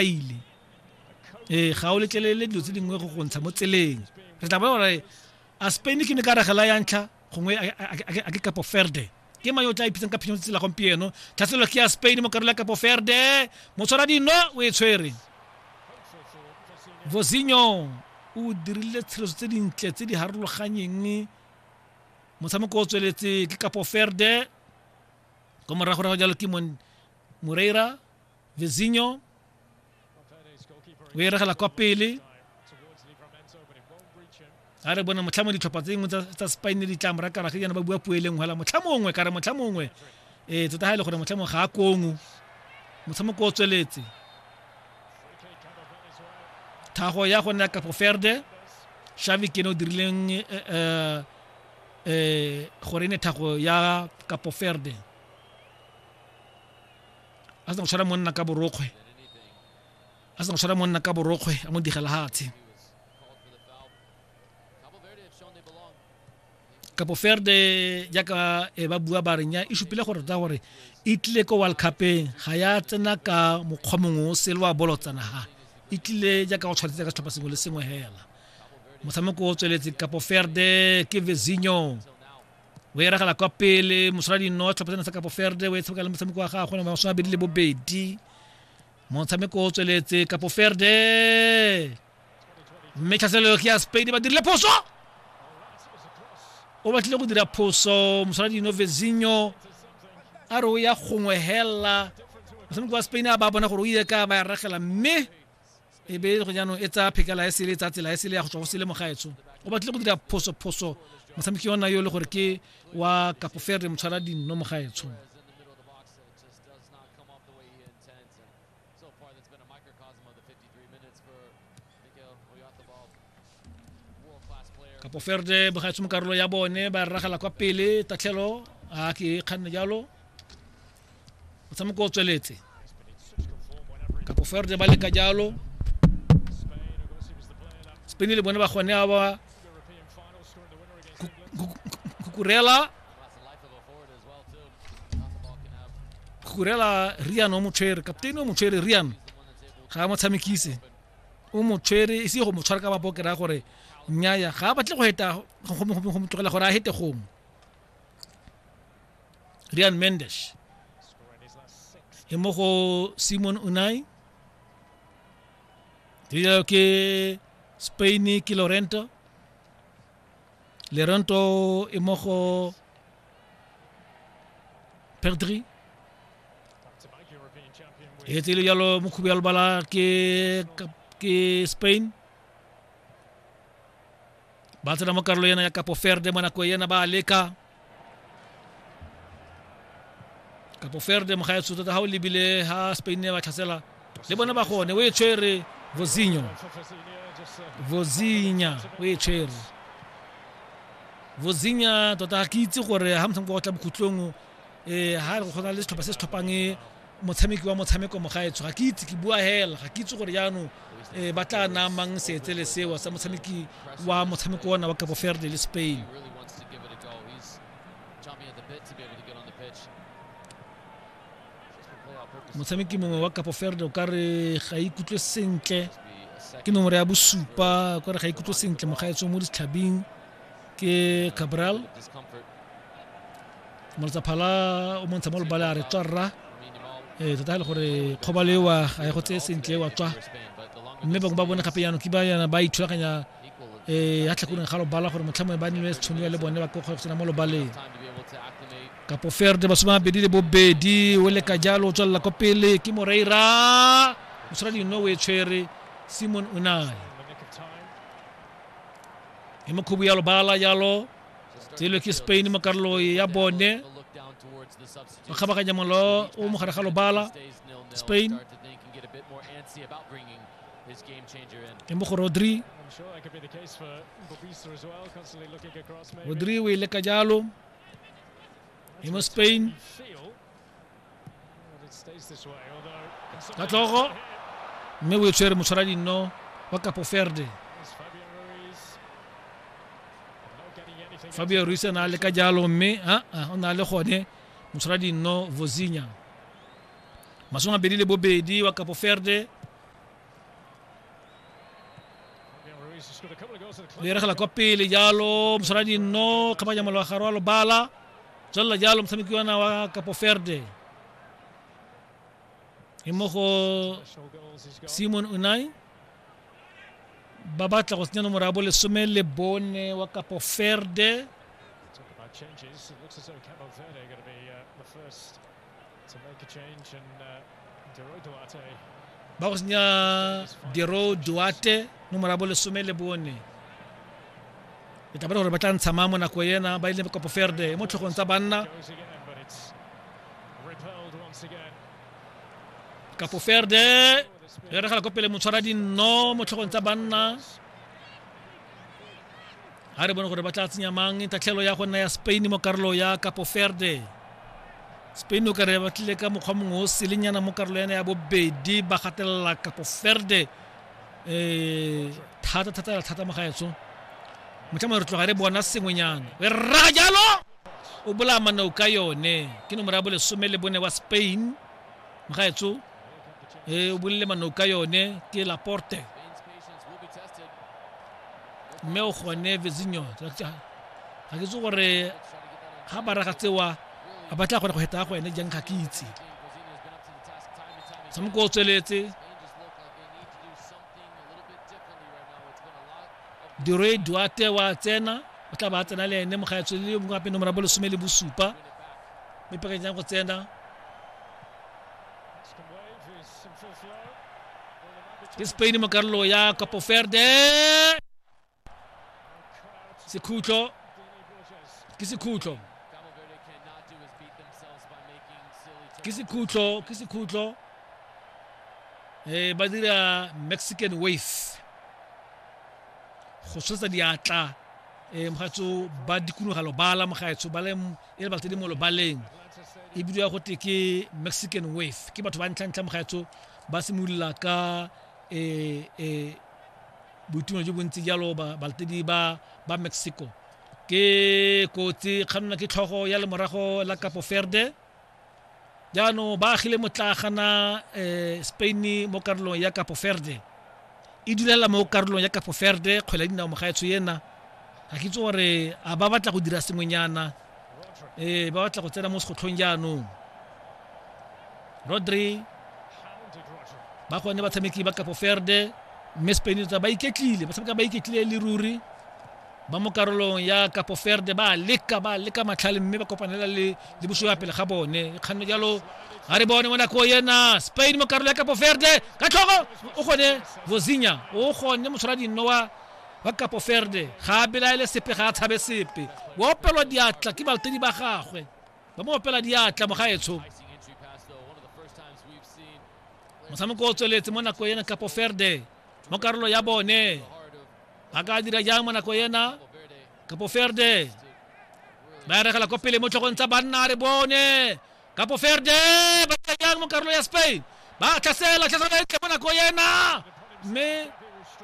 Ile ee, ga o letlelele dilo tse dingwe go go ntsha mo tseleng. Re tla bona gore a Spain ke ne ka ragela ya ntlha, gongwe a ke Capo Verde. Ke mang yo o tla ipitsang ka phenyo tsela gompieno? Tlhaselo ke ya Spain mo karolo ya Capo Verde. Motshwara dino o e tshwere. Vozinho o dirile tshireletso tse dintle tse di harologanyeng. Motshameko o tsweletse ke Capo Verde. Ko morago rago jalo ke Moreira. Vizinho o e regela kwa pele. A re bone motlha mongwe ditlhopha tse dingwe tsa Spain di tla mora kara ke jaana ba bua puo e le nngwe hela motlha mongwe kare motlha mongwe ee tota ga e le gore motlha mongwe ga a kongo. Motshameko o tsweletse. Thago ya go nna Capo Verde, Xavi ke ene o dirileng gore e ne thago ya Capo Verde. A sena go tshwara monna ka borokgwe, a sena go tshwara monna ka borokgwe, a mo digela hatshe. Capo Verde jaaka e ba bua ba re nya e supile gore tota gore e tlile ko World Cupeng ga ya tsena ka mokgwa mongwe o sele wa bolotsana, ha e tlile jaaka go tshwanetse ka setlhopha sengwe le sengwe hela. Motshameko o tsweletse, Capo Verde ke Vezinho o e ragela kwa pele, mosola dino tlhopha tsena sa Capo Verde o e tshameka le motshameko wa gagwe 22. Motshameko o tsweletse, Capo Verde, mme tlhaselo ke ya Spain, ba dirile phoso, o batlile go dira phoso mosola dino Vezinho a re o ya gongwe hela. Motshameko wa Spain a ba bona gore o ile ka ba ya ragela, mme e be go jaanong e tsaya phekela e sele, e tsaya tsela e sele ya go tswa go sele. Mogaetsho o batlile go dira phoso, phoso motshameki ona yo e le gore ke wa Capo Verde, motshwara dinno mogaetsho. Capo Verde bogaetsho mo karolo ya bone ba ragela kwa pele, tatlhelo a ke kganne jalo. Motshameko o tsweletse, Capo Verde ba leka jalo, Spain le bone ba gone a ba Kukurela, Kukurela Rian o mo tshwere, kaptein o mo tshwere. Rian ga a mo tshamekise, o mo tshwere e se go mo tshwara ka mapo, ke raya gore nnyaya ga a batle go heta go mo tlogela gore a hete gongwe. Rian Mendes e mo go Simon Unai, jalo ke Spain ke Lorento, Lorento e mo go Pedri, e tsele jalo mokhubu ya lobala ke Spain. Ba tsena mo karolo ena ya Capo Verde mo nako ena ba leka. Capo Verde mogaetsho tota ga o lebile ha Spain ba tlhasela le bone ba gone o e tshwere Vozinho, Vozinha o e tshwere Vozinha. Tota ga ke itse gore ha motshameko wa go tla bokhutlong um ha re go na le setlhopha se se tlhophang motshameki wa motshameko mogaetsho, ga ke itse, ke bua hela, ga ke itse gore jaanong um ba tla naya mang seetsele seo sa motshameki wa motshameko ona wa Capo Verde le Spain. Motshameki mongwe wa Capo Verde o ka re ga ikutlwe sentle, ke nomoro ya bosupa, o ka re ga ikutlwe sentle mogaetsho mo ditlhabing, ke Cabral. Moletsaphala o montsha mo lobale a re tswa rra, ee tota e le gore kgobalo ewa ga e go tseye sentle wa tswa. Mme bangwe ba bone gape jaanong ke ba yana ba ithulaganya um ya tlhakoreng ga lobala gore motlha mongwe ba nne tšhono le bone ba ko go tsena mo lobaleng. Capo Verde 22 o leka jalo, o tswelela ko pele ke Moreira, motshwara dino o e tshwere Simon Unai e mokhubu ya lobala jalo. Tselo ke Spain mo karolo ya bone, ba kgabaganya molo o mo gare ga lobala. Spain e mo go Rodri, Rodri o e leka jalo e mo Spain ka tlhogo, mme o e tshwere motshwara dinno wa Capo Verde Fabio Ruiz a leka jalo, mme a o na le gone motshwara dinno Vozinha. 22 wa Capo Verde. Le eregela kwa pele jalo moswara dinno kgabanya molwagare wa lobala tswelela jalo motshameki ona wa Capo Verde e mo go Simon Unai ba batla go senya nomoro ya bolesome le bone wa Capo Verde. Ba go senya Dero Duarte nomoro ya bolesome le bone. E tla gore ba tla ntsha mang mo nako ena ba ile Capo Verde mo tlhogong tsa banna. Capo Verde e regela ko pele motshwara dinno mo tlhogong tsa banna. A re bone gore ba tla tsenya mang tatlhelo ya go nna ya Spain mo karolo ya Capo Verde. Spain o kare ba tlile ka mokgwa mongwe o selenyana mo karolo yana ya bobedi ba gatelela Capo Verde thata thata thata mo gaetso. Motlha re tloga re bona sengwenyana. E raga jalo o bolaya manao ka yone ke nomoro ya bolesome le bone wa Spain mogaetso o bolele manao ka yone ke Laporte mme o gone Vezinho ga ke itse gore ga ba raga tsewa a batla gore go heta go ene jang ga ke itse. Motshameko o tsweletse Diroi Duarte wa tsena o tla ba tsena le ene mogaetso le yo mongwe gape nomoro ya bolesome le bosupa mme pekanyang go tsena ke Spain mo karolo ya Capo Verde. Sekhutlo ke sekhutlo ke sekhutlo ke sekhutlo ba dira Mexican wave go tsholetsa diatla mogaetso ba dikologa lobala mogaetso ba le e le balatedi mo lobaleng e bidiwa gote ke Mexican wave ke batho ba ntlha-ntlha mogaetso ba simolola ka boitumelo jo bontsi jalo balatedi ba ba Mexico. Ke kotsi kganna ke tlhogo ya lemorago la Capo Verde. Jaanong ba agile motlagana Spain mo karolong ya Capo Verde e dulela mo karolong ya Capo Verde kgwele ya dinao mogaetsho ena ga ke itse gore a ba batla go dira sengwenyana ba batla go tsena mo segotlhong jaanong. Rodri ba gone batshameki ba Capo Verde mme Spain tsa ba iketlile ba tshameka ba iketlile le ruri ba mo karolong ya Capo Verde ba leka matlhale mme ba kopanela le bosio ya pele ga bone kganno jalo a re bone mo nako ena Spain mo karolo ya Capo Verde ka tlhogo o gone Vozinha o gone motshwara dinno wa Capo Verde ga a belaele sepe ga a tshabe sepe o opelwa diatla ke balatedi ba gagwe ba mo opela diatla mogaetsho. Motshameko o tsweletse mo nako ena Capo Verde mo karolo ya bone ba ka dira jang mo nako ena Capo Verde ba eregela ko pele mo tlhogong tsa banna re bone Capo Verde ba dira jang mo karolo ya Spain ba tlhasela tlhasela e tle mo nako ena mme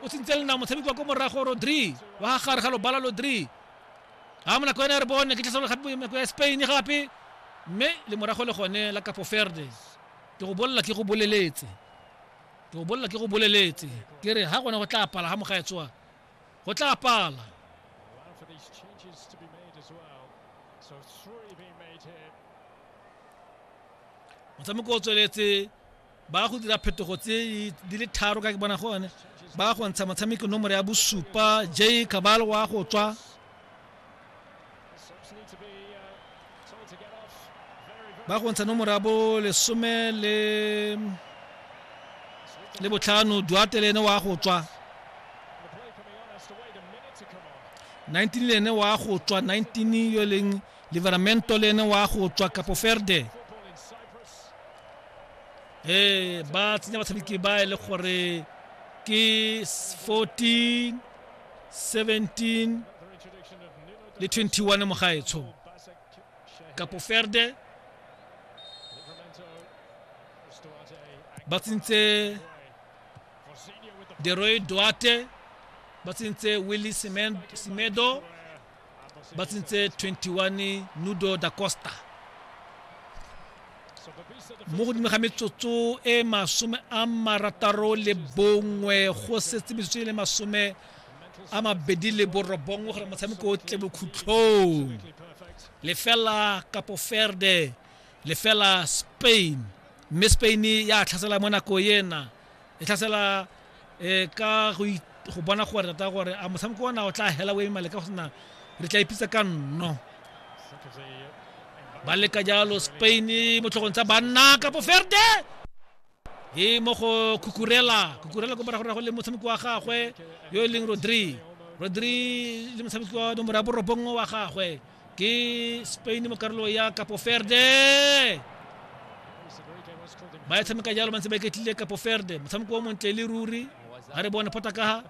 o tsentse lenao motshameki wa ko morago Rodri wa gare ga lobala Rodri a mo nako ena re bone ke tlhaselo gape nako ya Spain gape mme le morago le gone la Capo Verde. Ke go bolela ke go boleletse ke go bolela ke go boleletse ke re ga gone go tla pala ga mogaetsoa go tla pala. Motshameko o tsweletse ba go dira phetogo tse di le tharo ka ke bona gone ba go ntsha motshameko nomoro ya bosupa J Cabal wa go tswa ba go ntsha nomoro ya bo lesome le botlhano Duarte le ene wa go tswa 19 le ene wa go tswa 19 yo leng Livramento le ene wa go tswa Capo Verde. Ba tsenya batshameki ba e le gore ke 14 17 le 21 mogaetsho. Capo Verde ba tsentse Deroy Duarte ba tsentse Willy Semedo ba tsentse 21 Nudo da Costa. Mo godimo ga metsotso e 61 go setse metsotso e le a 29 gore motshameko o tle bokhutlhong. 0 Capo Verde, 0 Spain. Mme Spain ya tlhasela mo nako ena. E tlhasela ka go bona gore tota gore a motshameko ona o tla hela o eme maleka go sena re tla ipitsa ka nno. Ba leka jalo Spain mo tlhogong tsa banna Capo Verde. E mo go Cucurella, Cucurella ko morago le motshameki wa gagwe yo e leng Rodri. Rodri le motshameki wa nomoro ya 9 wa gagwe ke Spain mo karolo ya Capo Verde. Ba e tshameka jalo ba ntse ba iketlile Capo Verde. Motshameko o montle le ruri. Ga re bone phota ka ha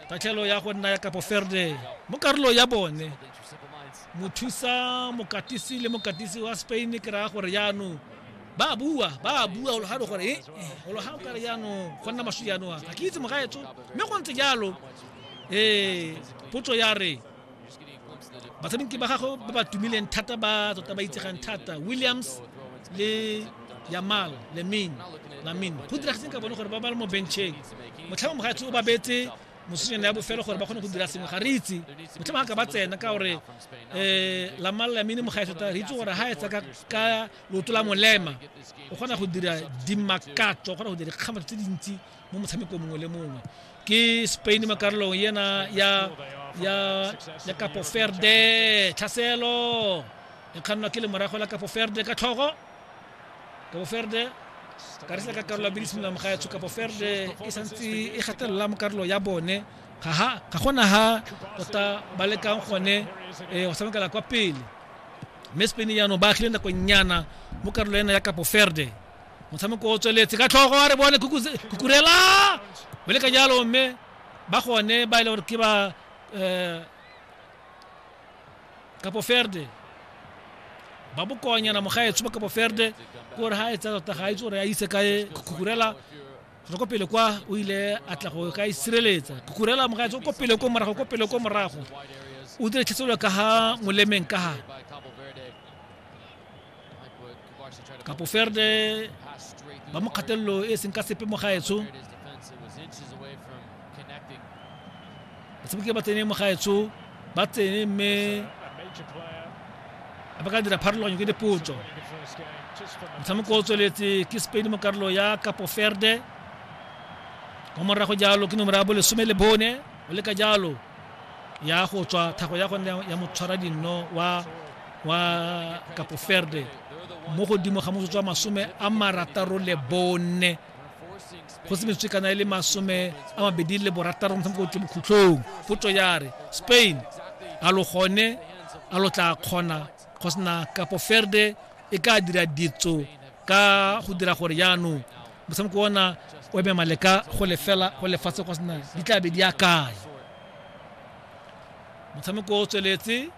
tatlhelo ya go nna ya Capo Verde mo karolo ya bone. Mothusa mokatisi le mokatisi wa Spain ke raya gore jaanong ba bua go ga gore go ga o kare jaanong go nna maswi jaanong ga ke itse mogaetso mme go ntse jalo. Potso ya re batshameki ba gago ba ba tumileng thata ba tota ba itsegang thata Williams le Yamal Lamine go diragetseng ka bone gore ba ba le mo bencheng motlhamo mogaetso o ba beetse mosonyana ya bofelo gore ba kgone go dira sengwe ga re itse motlhamo ga ka ba tsena ka gore Lamal Lamine mogaetso tota re itse gore ha etsa ka leoto la molema o kgona go dira dimakatso, o kgona go dira dikgamatso tse dintsi mo motshamekong mongwe le mongwe. Ke Spain mo karolong ena ya Capo Verde. Tlhaselo e kgannwa ke lemorago la Capo Verde ka tlhogo. Capo Verde ka re ka karolo ya bedi simolola mogaetsho. Capo Verde e santse e gatelela mo karolo ya bone. Ga gona ha tota ba lekang gone go tshamekela kwa pele. Mme Spain jaanong ba agile nakonyana mo karolo ena ya Capo Verde. Motshameko o tsweletse ka tlhogo, a re bone Cucurella o leka jalo, mme ba gone ba e leng gore ke ba Capo Verde ba bokonyana mogaetsho ba Capo Verde ke gore ga e tsaya tota ga a itse gore a ise kae Cucurella go ko pele kwa o ile a tla go ka isireletsa. Cucurella mogaetsho ko pele ko morago, ko pele ko morago o dire tlhaselo ka ha molemeng ka ha Capo Verde ba mo kgatelelo e seng ka sepe mogaetsho. Batshameki ba tsene mogaetsho ba tsene mme ba ka dira pharologanyo ke dipotso. Motshameko o tsweletse ke Spain mo karolo ya Capo Verde. Ko morago jalo ke nomoro ya bo 14 o leka jalo ya go tswa thago ya gone ya motshwara dinno wa Capo Verde mo godimo ga motsotso wa 64 go se metsotso kana e le 26 motshameko o tle bokhutlhong. Potso ya re Spain a lo gone a lo tla kgona go sena Capo Verde e ka dira ditso ka go dira gore jaanong motshameko ona o eme maleka go lefela go lefatshe go sena di tla be di ya kae. Motshameko o tsweletse.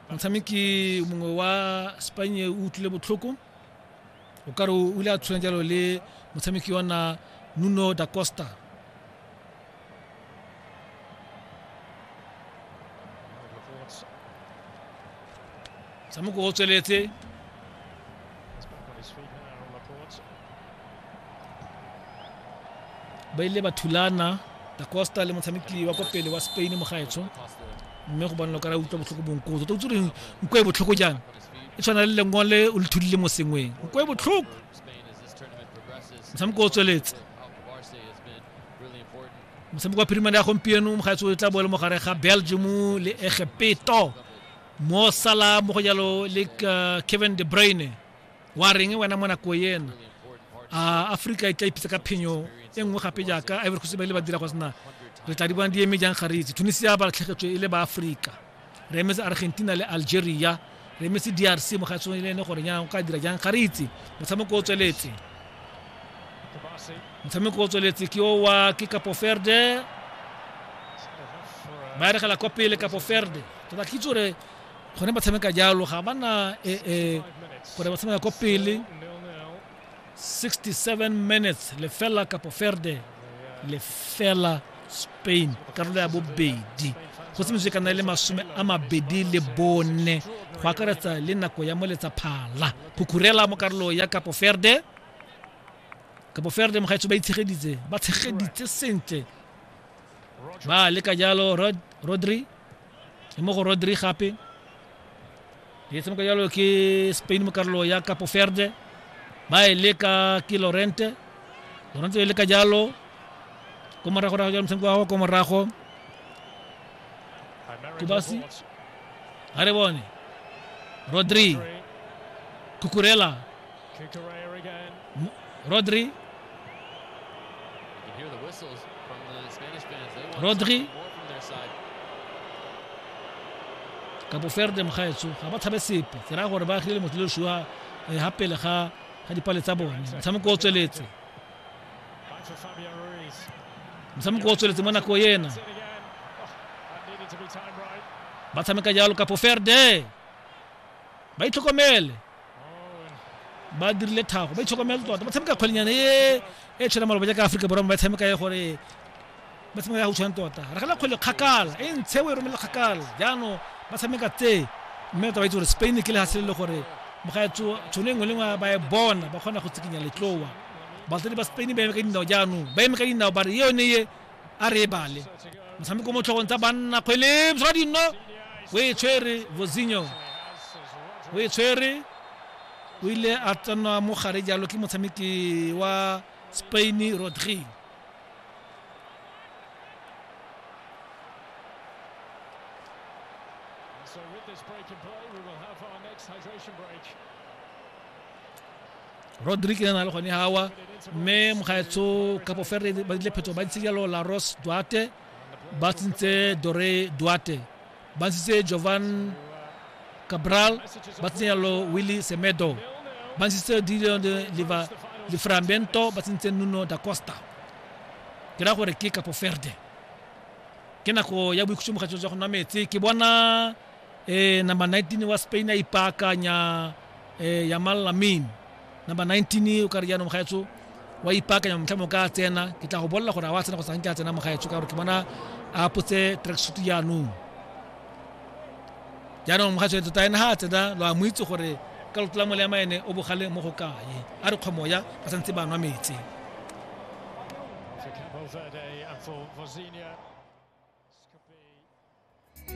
Motshameki mongwe wa Spain o utlwile botlhoko o kare o ile a tshwana jalo le motshameki wa na Nuno da Costa. Motshameko o tsweletse. Ba ile ba thulana da Costa le motshameki wa ko pele wa Spain mogaetsho mme go bonala o kare a utlwa botlhoko bonko tota o itse gore nko e botlhoko jang e tshwana le lengole o le thudile mo sengweng nko e botlhoko. Motshameko o tsweletse. Motshameko wa phirimane ya gompieno mogaetsho o tla bo le mogare ga Belgium le Egepeto mo Salah mo go jalo le Kevin De Bruyne. Wa reng wena mo nako ena a Afrika e tla ipitsa ka phenyo e nngwe gape jaaka Ivory Coast ba ile ba dira go sena re tla di bona di eme jang ga re itse. Tunisia ba latlhegetswe e le ba Afrika, re emetse Argentina le Algeria, re emetse DRC mogaetsho le ene gore jang o ka dira jang ga re itse. Motshameko o tsweletse. Motshameko o tsweletse ke o wa ke Capo Verde ba eregela kwa pele Capo Verde tota ke itse gore gone ba tshameka jalo ga bana gore ba tshameka kwa pele. 67 minutes 0 Capo Verde 0 Spain karolo ya bobedi go se metsotso e ka nna le 24 go akaretsa le nako ya moletsa phala. Cucurella mo karolo ya Capo Verde. Capo Verde mogaetsho ba itshegeditse ba tshegeditse sentle ba leka jalo Rodri e mo go Rodri gape e tshameka jalo ke Spain mo karolo ya Capo Verde ba e leka ke Lorente Lorente e leka jalo ko morago rago jalo motshameko wa gago ko morago Kubasi ga re bone Rodri Cucurella Rodri Rodri Capo Verde mogaetsho ga ba tshabe sepe ke raya gore ba agile motho le sua ga pele ga ga dipale tsa bone motshameko o tsweletse motshameko o tsweletse mo nako ena ba tshameka jalo Capo Verde ba itlhokomele ba dirile thago ba itlhokomele tota ba tshameka kgwelenyana e e tshwana maloba jaaka Aforika Borwa ba tshameka e gore ba tshameka ya go tshwana tota ragela kgwele kgakala e ntshe o e romele kgakala jaanong ba tshameka tse mme tota ba itse gore Spain ke lehatshe le le gore mogaetso tšhono e nngwe le nngwe ba e bona ba kgona go tsikinya letlowa batsadi ba Spain ba eme ka dinao jaanong ba eme ka dinao ba re yone ye a re e bale motshameko mo tlhogong tsa banna kgwele moswa dinno o e tshwere Vozinho o e tshwere o ile a tsenwa mo gare jalo ke motshameki wa Spain Rodri So with this break in play, we will have our next hydration break. Rodri ke na le gone hawa mme mogaetsho Capo Verde ba dile phetso ba ntse jalo La Rose Duarte ba tsentse Dore Duarte ba ntshitse Jovan Cabral ba tsentse jalo Willy Semedo ba ntshitse Dilion de Liva Livramento ba tsentse Nuno da Costa ke ra gore ke Capo Verde ke nako ya boikhutso mogaetsho jwa go nwa metsi ke bona number 19 wa Spain a ipaakanya Yamal Lamine number 19 o ka re jaanong mogaetsho wa ipaakanya motlha mo ka tsena ke tla go bolela gore a wa tsena go sa nke a tsena mogaetsho ka gore ke bona a apotse tracksuit jaanong jaanong mogaetsho tota ene ga a tsena lo a mo itse gore ka loto la molema ene o bogale mo go kae a re kgomoya ba santse ba nwa metsi For Capo Verde and for Vozinha.